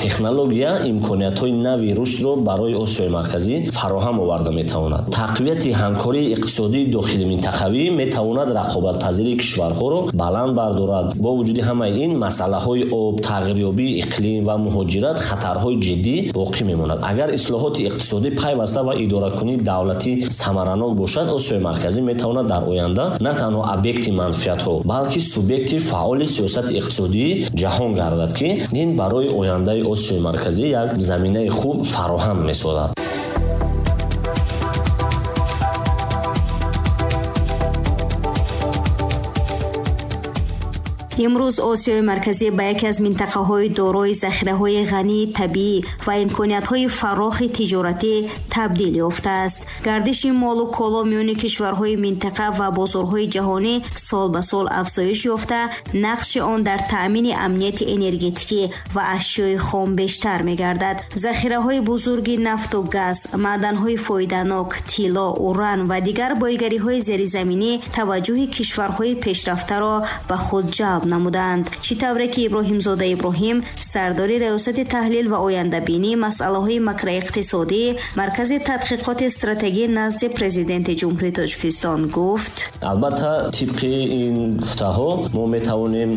Технология имкониятҳои нави рушдро барои Осиёи Марказӣ фароҳам оварда метавонад. Тақвияти ҳамкории иқтисодии дохили минтақавӣ метавонад рақобатпазирии кишварҳоро баланд бардорад. Бо вуҷуди ҳамаи ин, масъалаҳои об, тағйирёбии иқлим ва муҳоҷират хатарҳои ҷиддӣ боқӣ мемонад. Агар ислоҳоти иқтисодӣ пайваста ва идоракунии давлатӣ самаранок бошад, Осиёи Марказӣ метавонад дар оянда на танҳо объекти манфиатҳо, балки субъекти фаъоли сиёсати иқтисодии ҷаҳон гардад, ки ин барои ояндаи Осиёи Марказӣ як заминаи хуб фароҳам месозад. Имрӯз Осиёи Марказӣ ба яке аз минтақаҳои дорои захираҳои ғании табиӣ ва имкониятҳои фарохи тиҷоратӣ табдил ёфтааст. Гардиши молу коло миёни кишварҳои минтақа ва бозорҳои ҷаҳонӣ сол ба сол афзоиш ёфта, нақши он дар таъмини амнияти энергетикӣ ва ашёи хом бештар мегардад. Захираҳои бузурги нафту газ, маъданҳои фоиданок, тилло, уран ва дигар боигариҳои зеризаминӣ таваҷҷӯҳи кишварҳои пешрафтаро ба худ ҷалб намуданд. Чӣ тавре ки Иброҳимзода Иброҳим, сардори Раёсати таҳлил ва ояндабинии масъалаҳои макроиқтисодӣ, Маркази тадқиқоти стратегӣ назди Президенти Ҷумҳурии Тоҷикистон гуфт: Албатта, тибқи ин гуфтаҳо мо метавонем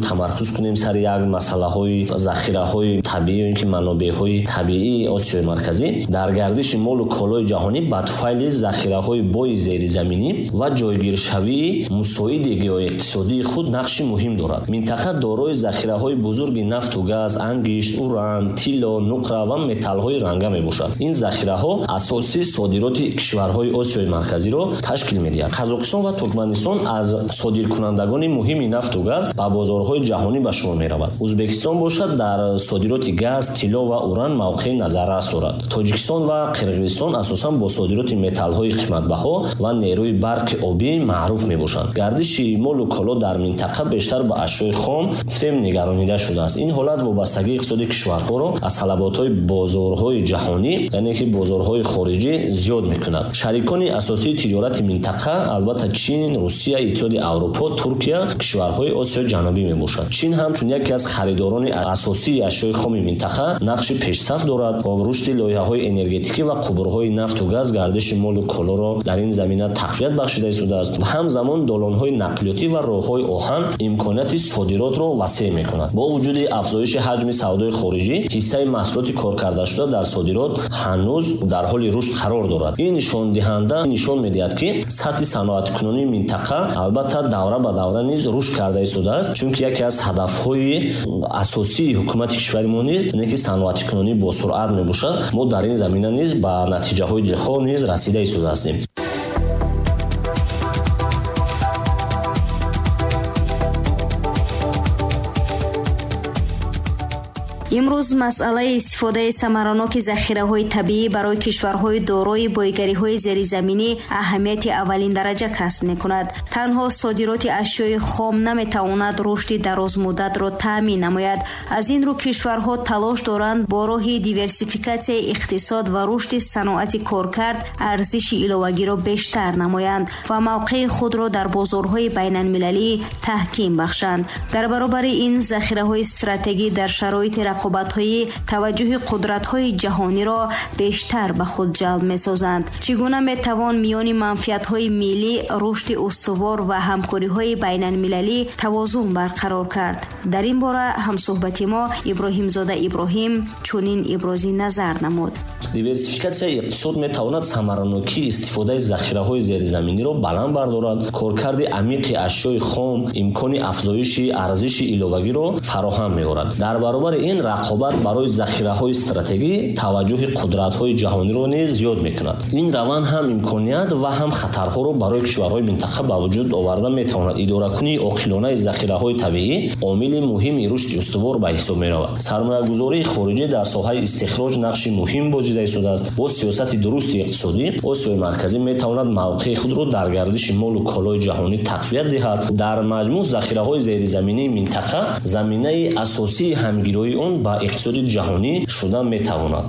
тамаркуз кунем сари як масъалаҳои захираҳои табиӣ ё ин ки манобеъҳои табиии Осиёи Марказӣ дар гардиши молу колои ҷаҳонӣ ба туфайли захираҳои бои зеризаминӣ ва ҷойгиршавии мусоиди геоиқтисодии худ нақши муҳим дорад. Минтақа дорои захираҳои бузурги нафту газ, ангишт, уран, тилло, нуқра ва металлҳои ранга мебошад. Ин захираҳо асосии содироти кишварҳои Осиёи Марказиро ташкил медиҳад. Қазоқистон ва Туркманистон аз содиркунандагони муҳими нафту газ ба бозорҳои ҷаҳонӣ ба шумор меравад. Ӯзбекистон бошад дар содироти газ, тилло ва уран мавқеи назаррас дорад. Тоҷикистон ва Қирғизистон асосан бо содироти металлҳои қиматбаҳо ва нерӯи барқи обӣ маъруф мебошанд. Гардиши молу коло дар минтақа бештар ба ашёи хом гуфтем нигаронида шудааст. Ин ҳолат вобастагии иқтисоди кишварҳоро аз талаботҳои бозорҳои ҷаҳонӣ, яъне ки бозорҳои хориҷӣ зиёд мекунад. Шарикони асосии тиҷорати минтақа албатта Чин, Русия, Иттиҳоди Аврупо, Туркия, кишварҳои Осиёи Ҷанубӣ мебошад. Чин ҳамчун яке аз харидорони асосии ашёи хоми минтақа нақши пешсаф дорад. Бо рушди лоиҳаҳои энергетикӣ ва қубурҳои нафту газ гардиши молу колоро дар ин замина тақвият бахшида истодааст. Ҳамзамон долонҳои нақлиётӣ ва роҳҳои оҳан имконияти содиротро васеъ мекунад. Бо вуҷуди афзоиши ҳаҷми савдои хориҷӣ, ҳиссаи маҳсулоти коркардашуда дар содирот ҳанӯз дар ҳоли рушд қарор дорад. Ин нишондиҳанда нишон медиҳад, ки сатҳи саноаткунонии минтақа албатта давра ба давра низ рушд карда истодааст, чунки яке аз ҳадафҳои асосии ҳукумати кишвари мо низ ине ки саноаткунонӣ босуръат мебошад. Мо дар ин замина низ ба натиҷаҳои дилхоҳ низ расида истодаастем. Имрӯз масъалаи истифодаи самараноки захираҳои табиӣ барои кишварҳои дорои боигариҳои зеризаминӣ аҳамияти аввалин дараҷа касб мекунад. Танҳо содироти ашёи хом наметавонад рушди дарозмуддатро таъмин намояд. Аз ин рӯ кишварҳо талош доранд бо роҳи диверсификатсияи иқтисод ва рушди саноати коркард арзиши иловагиро бештар намоянд ва мавқеи худро дар бозорҳои байналмилалӣ таҳким бахшанд. Дар баробари ин захираҳои стратегӣ дар шароити рақобатҳои таваҷҷӯҳи қудратҳои ҷаҳониро бештар ба худ ҷалб месозанд. Чӣ гуна метавон миёни манфиатҳои миллӣ, рушди устувор ва ҳамкориҳои байналмилалӣ тавозун барқарор кард? Дар ин бора ҳамсӯҳбати мо Иброҳимзода Иброҳим чунин ибрози назар намуд. Диверсификатсияи иқтисод метавонад самаранокии истифодаи захираҳои зеризаминиро баланд бардорад, коркарди амиқи ашёи хом имкони афзоиши арзиши иловагиро фароҳам меорад. Дар баробари ин рақобат барои захираҳои стратегӣ таваҷҷӯҳи қудратҳои ҷаҳониро низ зиёд мекунад. Ин раванд ҳам имконият ва ҳам хатарҳоро барои кишварҳои минтақа ба вуҷуд оварда метавонад. Идоракунии оқилонаи захираҳои табиӣ омили муҳими рушди устувор ба ҳисоб меравад. Сармоягузории хориҷӣ дар соҳаи истихроҷ нақши муҳим бозида истодааст. Бо сиёсати дурусти иқтисодӣ Осиёи Марказӣ метавонад мавқеи худро дар гардиши молу колои ҷаҳонӣ тақвият диҳад. Дар маҷмӯъ захираҳои зеризаминии минтақа заминаи асосии ҳамгироии он ба иқтисоди ҷаҳонӣ шуда метавонад.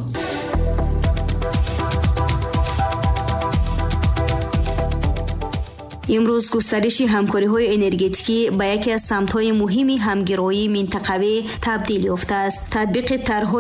Имрӯз густариши ҳамкориҳои энергетикӣ ба яке аз самтҳои муҳими ҳамгироии минтақавӣ табдил ёфтааст. Татбиқи тарҳҳои